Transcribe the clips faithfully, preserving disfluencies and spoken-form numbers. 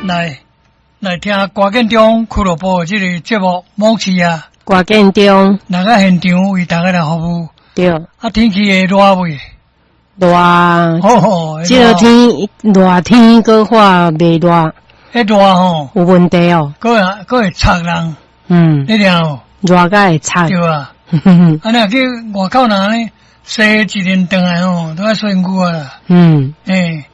來來聽歌建中俱樂部的這个節目《某市啊》，歌建中來到現場為大家來服務。對。啊，天氣會熱未？熱。哦，這个天熱天，閣話袂熱。彼熱吼，有問題哦。閣會閣會灼人。嗯。你聽無？熱甲會灼。對啊。啊，若去外口若按呢洗一輪轉來吼，都愛洗身軀啊啦。嗯。欸，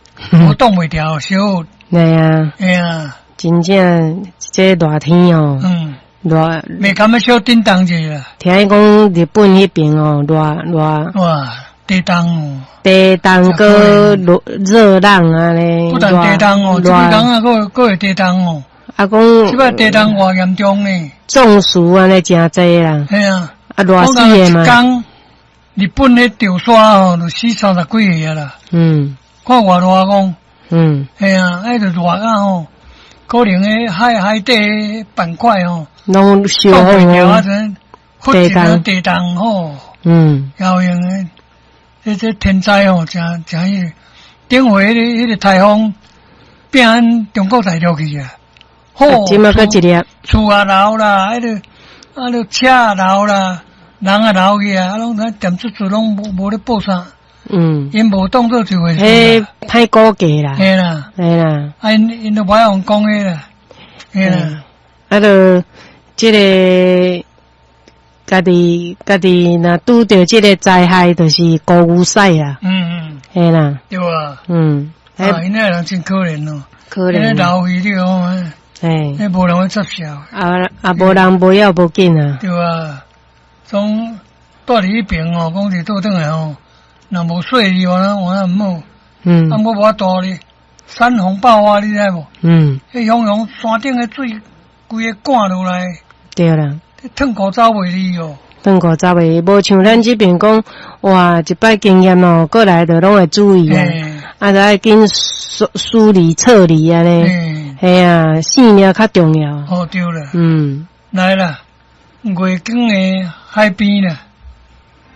我擋袂牢，燒。對啊。嘿啊。真正這熱天哦。嗯。熱。袂感覺小叮當者啦。聽講日本彼邊哦，熱熱。哇，地動。地動閣熱熱浪按呢。不但地動哦，這幾工啊，閣閣會地動哦。啊，講。這擺地動偌嚴重呢。中暑按呢誠濟啦。嘿啊。啊，熱死的嘛。一工，日本彼潮沙吼，就死三十幾个啦。嗯。看偌熱講。嗯。嘿啊，彼就熱啊吼，可能彼海海底板塊吼，攏燒袂牢啊，陣忽一個地動吼。嗯。有閒的，這這天災吼，誠誠彼个，頂回彼个彼个颱風，變咱中國大陸去啊。吼。這馬閣一粒。厝也流啦，彼个啊，著車也流啦，人也流去啊，啊，攏踮出厝攏無無咧報啥。嗯。𪜶無當做一回事。彼歹估計啦。嘿啦。嘿啦。啊，𪜶𪜶都無愛用講彼啦。嘿啦。啊，著這个家己家己若拄著這个災害，就是孤牛屎啦。嗯嗯。嘿啦。對啊。嗯。啊，𪜶那人真可憐哦。可憐。流去你講，嘿。彼無人會接受。啊啊，無人無要無緊啊。對啊，總蹛佇彼爿哦，講是倒轉來吼，若無細膩，我那我那毋好。嗯。啊，無無法度咧，山洪爆發，你知無？嗯。彼雄雄山頂的水，規个灌落來。對啦。褪褲走袂離哦。褪褲走袂，無像咱這邊講，哇，一擺經驗哦，過來就攏會注意啊，啊，著愛緊梳梳理撤離按呢，嘿啊，性命較重要。哦，對啦。嗯。來啦，月光的海邊啦。